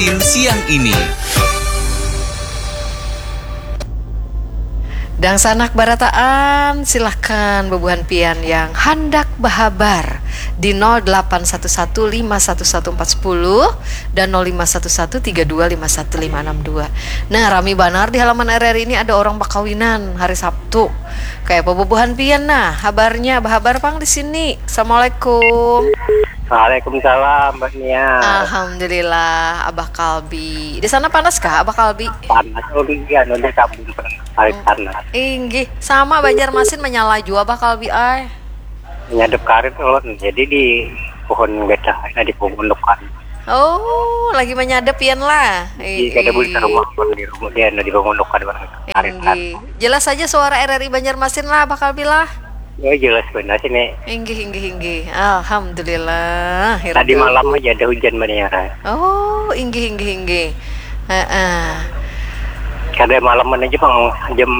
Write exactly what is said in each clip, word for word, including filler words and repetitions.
Siang ini. Dangsanak barataan, silahkan bubuhan pian yang handak bahabar di nol delapan satu satu lima satu satu empat sepuluh dan nol lima satu satu tiga dua lima satu lima enam dua. Nah, rami banar di halaman R R I ini ada orang bakawinan hari Sabtu. Kayak apa bubuhan pian nah, habarnya bahabar pang di sini. Assalamualaikum. Waalaikumsalam, Mbak Nia. Alhamdulillah, Abah Kalbi. Di sana panas kah, Abah Kalbi? Panas, oh iya, nanti kabun panas, panas. Inggih, sama Banjarmasin menyala jua, Abah Kalbi, ay. Nyadep karet ulun, jadi di pohon gajah, ada di pohon depan. Oh, lagi menyadep pian lah. Di kada boleh rumah pun di rumah dia, ada di pohon depan. Inggih. Jelas saja suara R R I Banjarmasin lah, Abah Kalbi lah. Ya jelas benar sini. Inggih inggih inggih. Alhamdulillah. Tadi malam aja ada hujan banyak. Oh, inggih inggih inggih. Heeh. Kada malam aja bang, jam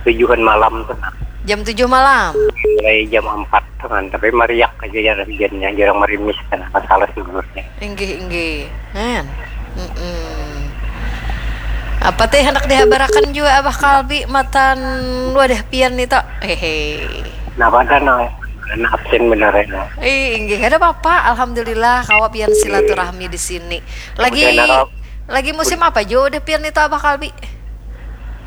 tujuhan malam tuh. Nah. Jam tujuh malam. Mulai jam empat kan, tapi mariak aja ya hujannya, jarang merimis kan, masalah sebenarnya. Inggih inggih. Kan. Mm-mm. Apa teh hendak dihabarakan juga Abah Kalbi matan wadah pian nih tok. Hehe. Nah, pada no, karena absen benar ya. No. Eh, inggih, ada apa-apa. Alhamdulillah, kawa pian silaturahmi di sini. Lagi lagi musim apa jo udah pian itu Abah Kalbi?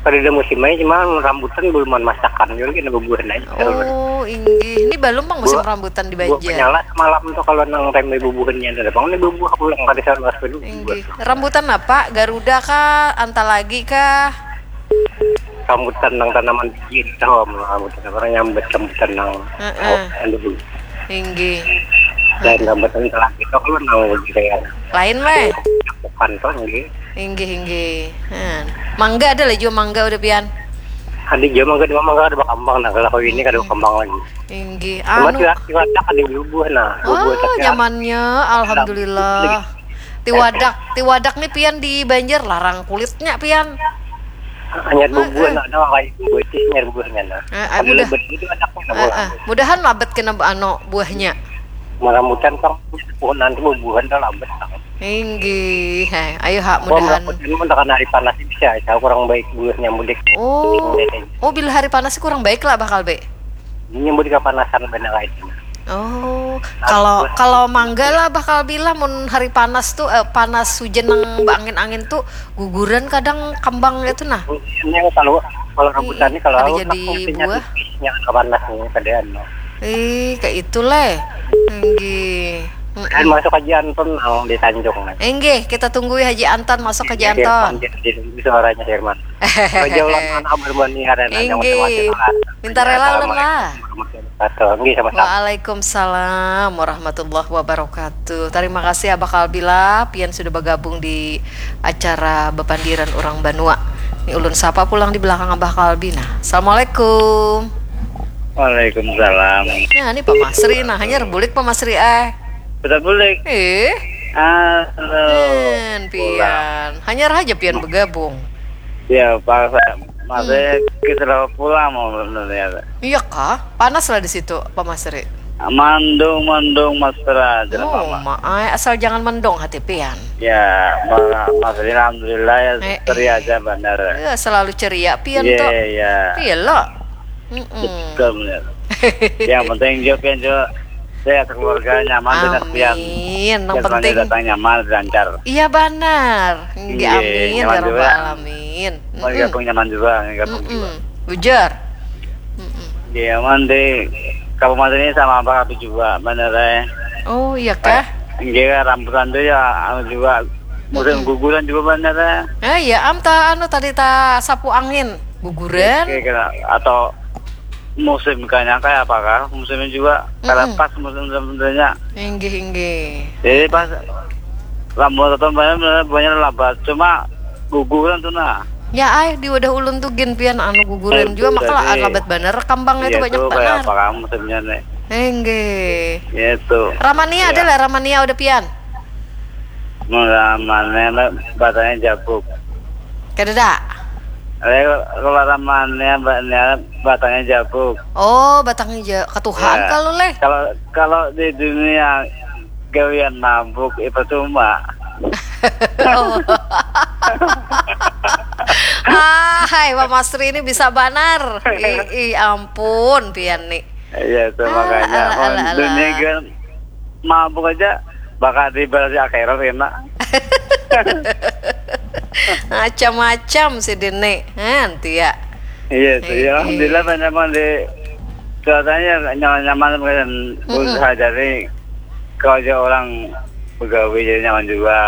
Pada ada musim aja cuma rambutan belum masakan juga kena bubuhan aja. Oh, inggih. Ini belum bang musim rambutan di Banjar. Nyala semalam tuh kalau nang rembe bubuhannya ada bang ini bubuh aku yang kada salah. Inggih. Rambutan apa? Garuda kah? Antalagi kah? Rambutan nang tanaman biji itu, rambutan apa nyambat rambutan nang uh -uh. Anu. Inggih. Dan rambutan telah itu kalau nang biji kayak. Lain weh. Bukan tuh inggih. Inggih inggih. Hmm. Mangga ada lah juga mangga udah pian. Ada juga mangga, cuma mangga ada berkembang nah kalau ini kada berkembang lagi. Inggih. Anu. Cuma tiwak tiwak ada bubuh nah. Oh, nyamannya, alhamdulillah. Tiwadak, tiwadak nih pian di Banjar larang kulitnya pian. Hanya bubuhan ada kayak bubuhan nyar bubuhannya nah. Ada mudah, lebet gitu anaknya nah buah. Mudahan labet kena anu buahnya. Maramutan kan pohon nanti bubuhan dah labet. Inggih, hai. Ayo hak mudahan. Mun tekan hari panas bisa, saya kurang baik buahnya mudik. Oh, oh bila hari panas kurang baik lah bakal be. Ini mudik kepanasan benar itu. Oh, kalau kalau mangga lah bakal bilang mun hari panas tuh eh, panas hujan nang angin-angin tuh guguran kadang kembang itu nah. Ini kalau kalau rambutan ini kalau ada jadi buah. Yang panas ini kadaan. Eh, kayak itu leh. Enggih. Kan masuk aja Anton nang di Tanjung. Enggih, kita tunggu Haji Anton masuk Haji Anton. Di suaranya Herman. Jauh lah anak berbuat niaran. Enggih. Minta rela ulun lah. Wabarakatuh. Nggih sama-sama. Waalaikumsalam warahmatullahi wabarakatuh. Terima kasih Abah Kalbi lah, pian sudah bergabung di acara Bepandiran Orang Banua. Ini ulun sapa pulang di belakang Abah Kalbi nah. Assalamualaikum. Waalaikumsalam. Nah, ini Pak Masri nah, hanya bulik Pak Masri eh. Betul bulik. Eh. Halo. Pian, hanya aja pian bergabung. Ya, Pak masih hmm. Kita pulang mau sebenarnya. Iya kah? Panas lah di situ, Pak Masri. Mandung, mandung, mesra, oh, maai, asal jangan mendong hati pian. Ya, Masri alhamdulillah ya, eh, ceria eh. Aja benar. Ya, selalu ceria pian yeah, tuh. Iya, iya. Iya lo. Mm -mm. Betul benar. Yang penting juga pian juga sehat keluarga nyaman dengan pian. Amin. Yang penting datang nyaman lancar. Iya benar. Iya, amin ya rabbal alamin. Mau gabung nyaman juga, gabung juga. Ujar. Iya, man di kabupaten ini sama apa juga, bener ya. Oh iya kah? Iya, rambutan tuh ya, anu juga musim guguran juga bener ya. Eh iya, am ta anu tadi ta sapu angin, guguran. Iya, atau musim kayaknya kayak apa kah? Musimnya juga mm -mm. Pas musim sebenarnya. Inggih inggih. Jadi pas rambutan banyak banyak lebat, cuma guguran tuh nah. Ya ay, di wadah ulun tuh gin pian anu guguran juga maka lah lebat banar kambangnya iya, tuh banyak banar. Apa kamu sebenarnya? Enggak. Ya tuh. Ramania ya. Ada lah Ramania udah pian. Ramania batangnya jabuk. Kada ada. Kalau Ramania batangnya jabuk. Oh, batangnya jabuk. Ketuhan ya. Kalau leh. Kalau kalau di dunia gawian mabuk itu cuma Ah, hai, Pak Masri ini bisa banar. Ih, ih, ampun, pian nih. Iya, itu ah, makanya. Ala, ala, ala. Dunia kan mabuk aja bakal dibalas di akhirat enak. Macam-macam si Dini. Nanti ya. Iya, itu ya. Alhamdulillah banyak banget di cuacanya nyaman-nyaman kan. Usaha dari kalau aja orang begawe jadi nyaman juga.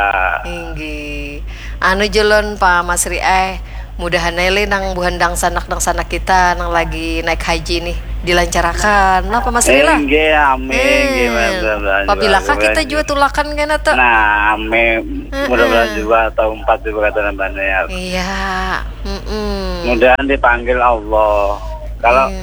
Inggih. Anu julun Pak Masri eh, mudahan ae li nang buhan dangsanak-dangsanak kita nang lagi naik haji nih dilancarakan lah Pak Masri lah. Inggih, amin. Inggih, mudah-mudahan juga. Pabila kah kita juga tulakan kena tuh. Nah, amin. Mudah-mudahan juga tahun empat juga kata nambahnya ya. Iya. Mm-mm. Mudahan dipanggil Allah. Kalau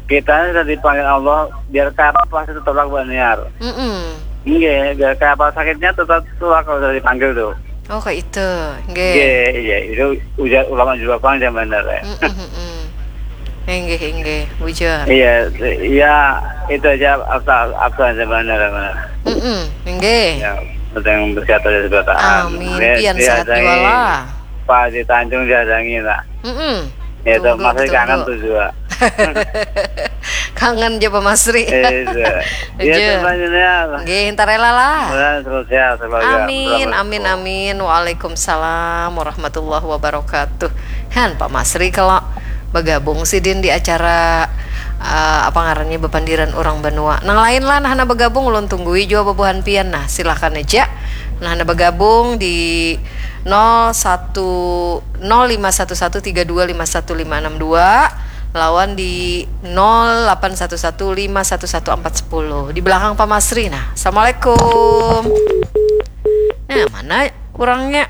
kita ini sudah dipanggil Allah, biar kayak apa pasti tetap laku baniar. Mm-mm. Iya, biar kayak apa sakitnya tetap tulak kalau sudah dipanggil tuh. Oh, kayak itu. Nggih. Iya, iya, itu ujar ulama juga pang zaman dulu ya. Mm-mm, mm-mm. Inggih, inggih, bujur. Iya, iya, itu aja apa apa zaman dulu. Mm-mm, inggih. Ya, penting berkata dari sebataan. Amin. Pian sehat juga lah. Pak di Tanjung dihadangi lah. Mm-mm. Ya, itu masih kangen tuh juga. Kangen aja Pak Masri. Iya. Iya, Aja. Teman ini ya. Nggih, entar rela lah. Mudah-mudahan terus sehat semoga. Amin, amin, amin. Waalaikumsalam warahmatullahi wabarakatuh. Han, Pak Masri kalau bergabung sidin di acara eh, apa ngarannya bepandiran orang banua. Nang lain lah nah hana bergabung ulun tunggui jua bubuhan pian. Nah, silahkan aja. Nah, hana bergabung di nol satu nol lima satu satu tiga dua lima satu lima enam dua lawan di nol delapan satu satu lima satu satu empat sepuluh. Di belakang Pak Masri nah. Assalamualaikum. Nah, mana orangnya?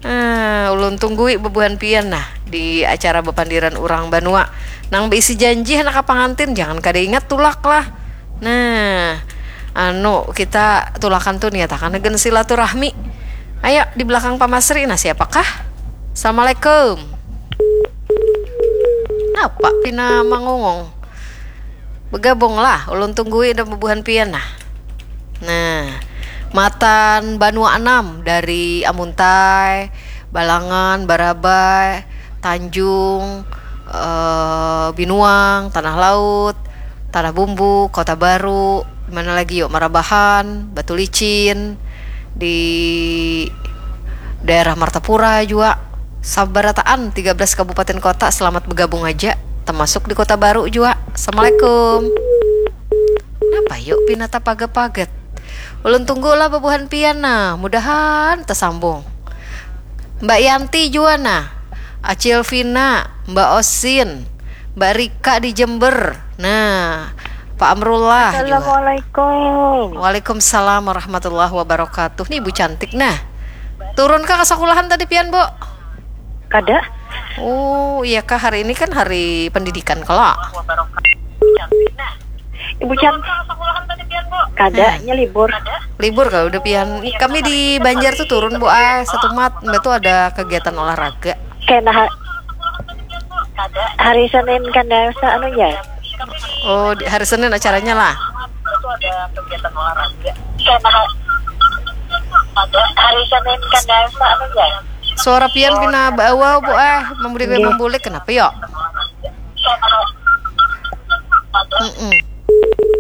Nah, ulun tunggui bubuhan pian nah di acara bepandiran urang banua. Nang beisi janji handak ka pangantin, jangan kada ingat tulak lah. Nah, anu kita tulakan tu niatakan hagan silaturahmi. Ayo di belakang Pak Masri nah siapakah? Assalamualaikum. Napa pina mangungong? Bergabung lah, ulun tunggui dan bubuhan pian nah. Nah, matan banua anam dari Amuntai, Balangan, Barabai, Tanjung, eh, Binuang, Tanah Laut, Tanah Bumbu, Kota Baru, di mana lagi yuk, Marabahan, Batu Licin, di daerah Martapura juga. Sabarataan tiga belas kabupaten kota selamat bergabung aja, termasuk di Kota Baru juga. Assalamualaikum. Napa yuk pina tapaget-paget? Ulun tunggu lah bubuhan pian nah, mudahan tersambung. Mbak Yanti juga nah, Acil Vina, Mbak Osin, Mbak Rika di Jember. Nah, Pak Amrullah juga. Assalamualaikum. Waalaikumsalam warahmatullahi wabarakatuh. Nih Ibu cantik nah. Turun kah ke sekolahan tadi pian, Bu? Kada. Oh, iya kah hari ini kan hari pendidikan kalau. Ibu Can. Kada, nya libur. Libur kalau udah pian. Kami di Banjar tuh turun, Bu, ah, satu mat. Mbak tuh ada kegiatan olahraga. Kena ha- hari Senin kan biasa anu ya. Oh, di hari Senin acaranya lah. Kena ha- hari Senin kan biasa anu ya. Suara pian pina bawa, Bu, ah, membulik membulik kenapa yo? Mm-mm.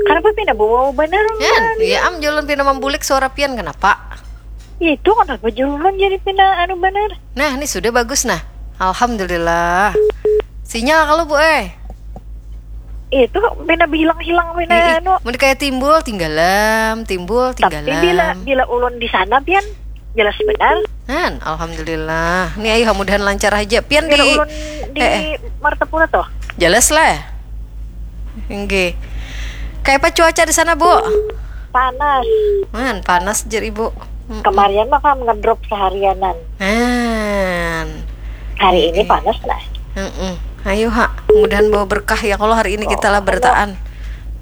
Kenapa pina bawa bener? Kan, ya am julun pina membulik suara pian kenapa? Itu kenapa julun jadi pina anu bener? Nah, ini sudah bagus nah. Alhamdulillah. Sinyal kalau, Bu, eh. Itu pina hilang-hilang pina Ih, anu. Mun kayak timbul tinggalam, timbul Tapi tinggalam. Bila bila ulun di sana pian jelas benar. Kan, alhamdulillah. Ini ayo mudahan lancar aja. Pian Bila di ulun di eh, eh. Martapura tuh. Jelas lah. Nggih. Kayak apa cuaca di sana, Bu? Panas. Man, panas jer Ibu. Mm-mm. Kemarin mah kan ngedrop seharianan. Man. Hari ini Oke. Panas lah. Mm-mm. Ayo ha, mudahan bawa berkah ya kalau hari ini kita lah Oh, bertaan.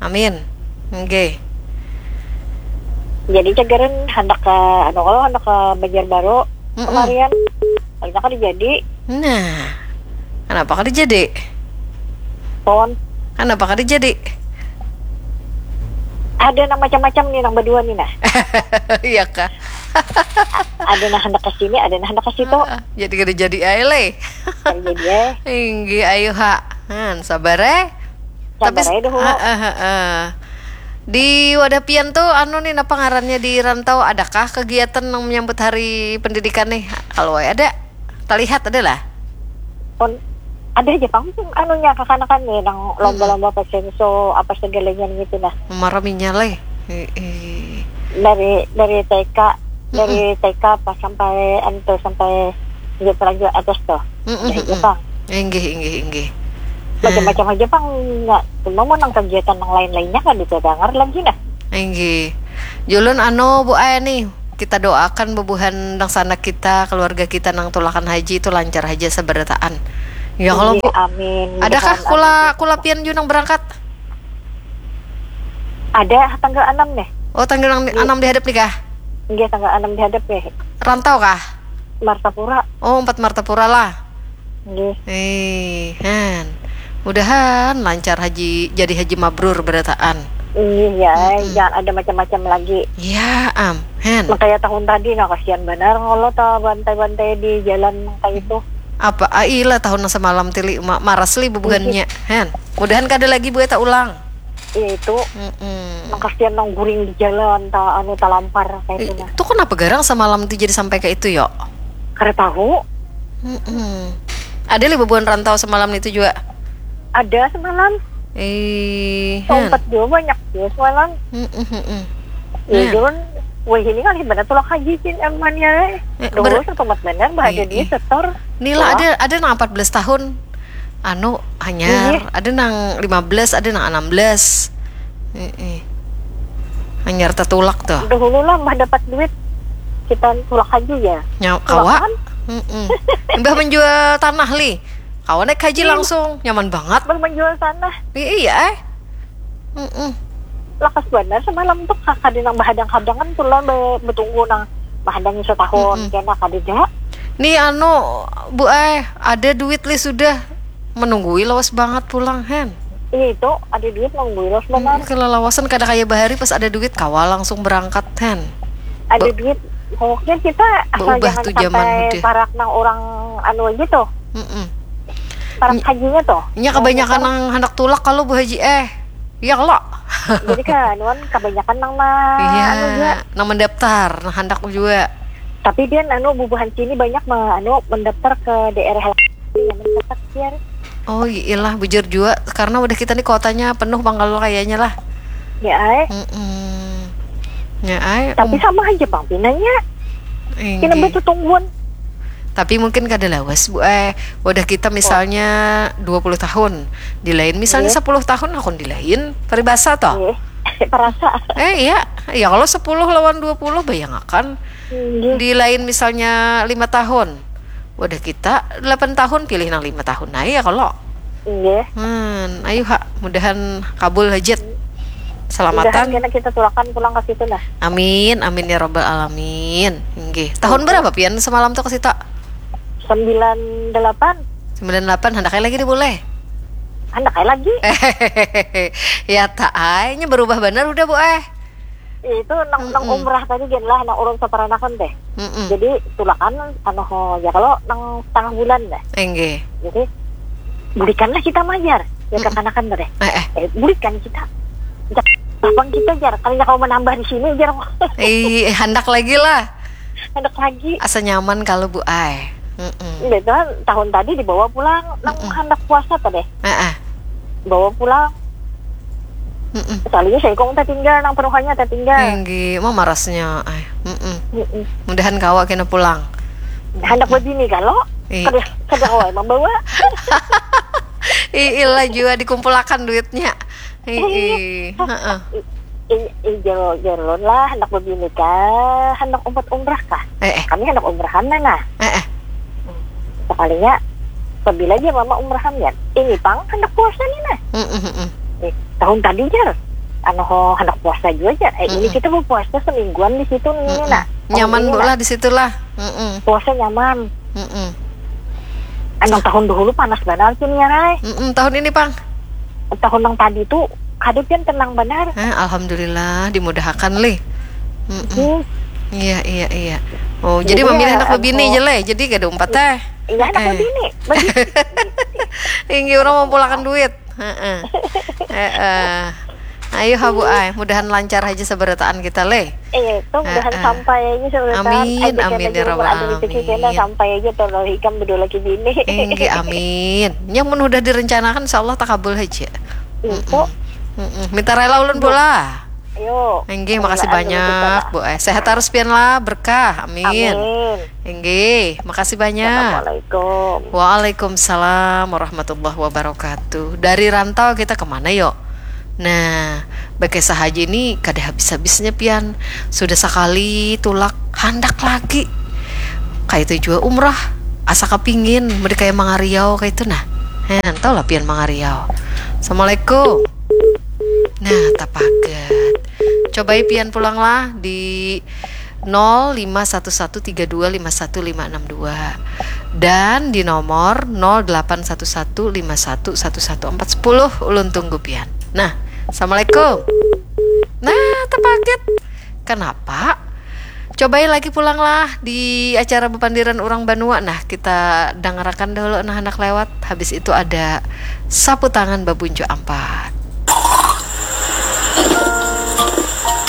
Amin. Nggih. Jadi cagaran hendak ke anu kalau hendak ke Banjarbaru Mm-mm. kemarin. Kalau kan jadi Nah, kenapa kada jadi? Pon Kenapa kada jadi? Ada nang macam-macam nih nang berdua nih nah. Iya kah? Ada nah hendak ke sini, ada nah hendak ke situ. Ah, jadi kada jadi ai leh. Kada jadi ai. Inggih, ayo ha. Han, sabar eh. Sabar tapi aja dulu. Heeh, heeh. Di wadah pian tuh anu nih, napa ngarannya, di rantau, adakah kegiatan yang menyambut hari pendidikan nih? Kalau ada, terlihat ada lah. Pun ada aja pang anunya, kakanakan nih nang lomba-lomba pasenso apa segalanya gitu nah. Maraminya leh. Heeh. Dari dari T K, dari T K pas sampai anu tuh, sampai lanjut lanjut atas tuh. Ada aja pang. Inggih, inggih, inggih. Macam-macam aja pang. Nggak, cuma mau nang kegiatan nang lain-lainnya kan bisa dengar lagi nah. Inggih. Julun anu Bu Ai nih, kita doakan bubuhan dangsanak kita, keluarga kita nang tulakan haji itu lancar haja sabarataan. Ya kalau Bu, amin. Adakah kula kula pian jua nang berangkat? Ada tanggal enam nih. Oh, tanggal enam dihadap nih kah? Iya, tanggal enam dihadap nih. Rantau kah? Martapura. Oh, empat Martapura lah. Nggih. Eh, han. Mudahan lancar haji, jadi haji mabrur berataan. Iya, jangan ada macam-macam lagi. Ya am, han. Makanya tahun tadi nah kasihan benar kalau ta bantai-bantai di jalan kayak itu. Apa? Ah, ilah tahun semalam tili ma maras li bubuhannya, han. Mudahan kada lagi buat tak ulang. Iya itu. Mm-mm. Nang kasihan nang guring di jalan, ta anu talampar kayak itu nah. Itu kenapa garang semalam itu jadi sampai kayak itu yo? Kada tahu. Mm-mm. Ada li bubuhan rantau semalam itu juga. Ada semalam. Eh, empat juga banyak juga semalam. Mm-mm, mm-mm. Ya, nah. Cuman, wah ini kan ibarat tulak haji cin amannya. Eh, dulu ber- selamat benar, bahagia di setor. Nila ada ada nang empat belas tahun. Anu hanyar, ada nang lima belas, ada nang enam belas. Heeh. Hanyar tatulak tuh. Dahulu lah mbah dapat duit kita tulak haji ya. Nya kawa. Heeh. Mbah menjual tanah li. Kawa naik haji langsung, nyaman banget. Mbah menjual tanah. Iya eh. Heeh. Lakas benar semalam tuh kakak di nang bahadang-hadangan tuh lah be- betunggu nang bahadang setahun kena kadeda. Nih anu Bu eh ada duit li sudah menunggui lawas banget pulang hen. Iya itu ada duit menunggui lawas banget. Hmm, kelelawasan kada kayak bahari pas ada duit kawa langsung berangkat hen. Ada duit pokoknya kita asal jangan sampai parak nang orang anu aja tuh. Mm-mm. Parak hajinya tuh. Nya kebanyakan nang hendak tulak kalau Bu Haji eh. Iya kalau. Jadi kan nuan kebanyakan nang ma iya, anu juga. Nang mendaftar, nang hendak juga. Tapi dia anu bubuhan sini banyak ma, anu mendaftar ke daerah lain yang mencatat dia. Oh iyalah bujur juga karena udah kita nih kotanya penuh pangkal kayaknya lah. Ya ay. Mm-mm. Ya ay. Tapi um. Sama aja bang pinanya. Ini betul tungguan. Tapi mungkin kada lawas bu eh wadah kita misalnya dua puluh tahun di lain misalnya sepuluh tahun aku di lain peribasa toh. Iya. Perasa. Eh iya, ya kalau sepuluh lawan dua puluh bayangakan di lain misalnya lima tahun. Wadah kita delapan tahun pilih nang lima tahun nah ya kalau. Iya. Hmm, ayo ha, mudahan kabul hajat. Selamatan. Mudahan kena kita tulakan pulang ke situ lah. Amin, amin ya robbal alamin. Nggih. Tahun berapa pian semalam tuh ke situ? Sembilan delapan. Sembilan delapan hendak lagi deh boleh. Hendak lagi. Ya tak ay, nya berubah benar udah bu eh. Itu nang, nang umrah tadi gen lah nang urun saparanakan teh. Mm-mm. Jadi tulakan anu ho ya kalau nang setengah bulan dah. Enggih. Jadi bulikanlah kita majar ya kekanakan teh. Eh, eh. Eh, bulikan kita. Jak, lapang kita jar. Kalinya kau menambah di sini jar. Eh, hendak lagi lah. Hendak lagi. Asa nyaman kalau bu ai. Mm-mm. Udah itu kan tahun tadi dibawa pulang nang hendak puasa teh. Eh, eh. Bawa pulang. Mm-mm. Sekalinya seikung tertinggal nang penuhannya tertinggal. Tinggi, mau marasnya. Ay. Mm-mm. Mm-mm. Mudahan kawa kena pulang. Hendak berbini kalau kada kada kawa membawa. Iilah juga dikumpulakan duitnya. Ii, heeh. Ijal jalun lah hendak berbini kah hendak umpat umrah kah? Eh, eh. Kami hendak umrahan nah. Eh, eh. Sekalinya pabila ja mama umrahan ya ini pang handak puasa ni nah. Mm, mm, mm. Eh, tahun tadi jar anu ho handak puasa jua jar eh ini kita bapuasa semingguan di situ ni nah. Nyaman bu lah di situ lah. Mm, mm. Puasa nyaman. Mm, mm. Anu tahun dahulu panas banar cin ya rai. Mm, mm. Tahun ini pang tahun nang tadi tu kada pian tenang banar. Eh, alhamdulillah dimudahakan lih. Mm, mm. Hmm. Iya, iya, iya. Oh, jadi, jadi memilih anak bebini aja lah. Jadi kada umpat teh. Iya, anak bebini. Inggi orang mau pulakan duit. Heeh. Heeh. Ayo habu ay, mudahan lancar aja seberataan kita leh. Iya, itu mudahan sampai aja seberataan. Amin, amin ya rabbal alamin. Sampai aja terlalu hikam berdua lagi bini. Inggi amin. Yang mun udah direncanakan insya Allah takabul aja. Itu. Minta rela ulun pula. Ayo. Inggih, makasih banyak, Bu. Eh, sehat terus pian lah, berkah. Amin. Amin. Inggih, makasih banyak. Assalamualaikum. Waalaikumsalam warahmatullahi wabarakatuh. Dari rantau kita kemana yuk? Nah, bagi sahaja ini kada habis-habisnya pian. Sudah sekali tulak, handak lagi. Kayak itu juga umrah. Asa kepingin, mending kayak mangariau kayak itu nah. Hen, tau lah pian mangariau. Assalamualaikum. Nah, tapagat. Cobai pian pulang lah di nol lima satu satu tiga dua lima satu lima enam dua dan di nomor nol delapan satu satu lima satu satu satu empat sepuluh. Ulun tunggu pian. Nah, assalamualaikum. Nah, tapagat. Kenapa? Cobai lagi pulang lah di acara bepandiran urang banua. Nah, kita dangarakan dahulu nah anak lewat. Habis itu ada sapu tangan babuncu ampat.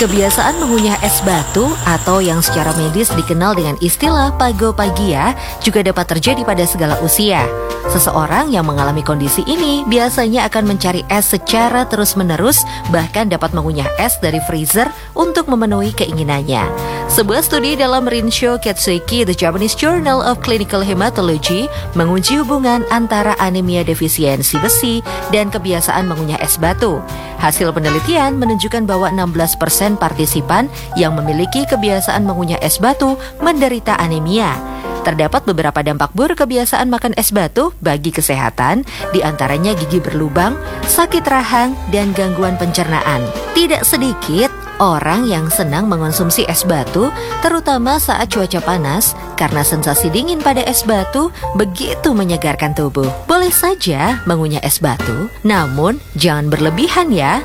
Kebiasaan mengunyah es batu atau yang secara medis dikenal dengan istilah pagopagia juga dapat terjadi pada segala usia. Seseorang yang mengalami kondisi ini biasanya akan mencari es secara terus-menerus, bahkan dapat mengunyah es dari freezer untuk memenuhi keinginannya. Sebuah studi dalam Rinshio Katsuiki, The Japanese Journal of Clinical Hematology, menguji hubungan antara anemia defisiensi besi dan kebiasaan mengunyah es batu. Hasil penelitian menunjukkan bahwa enam belas persen partisipan yang memiliki kebiasaan mengunyah es batu menderita anemia. Terdapat beberapa dampak buruk kebiasaan makan es batu bagi kesehatan, di antaranya gigi berlubang, sakit rahang, dan gangguan pencernaan. Tidak sedikit orang yang senang mengonsumsi es batu, terutama saat cuaca panas, karena sensasi dingin pada es batu begitu menyegarkan tubuh. Boleh saja mengunyah es batu, namun jangan berlebihan ya.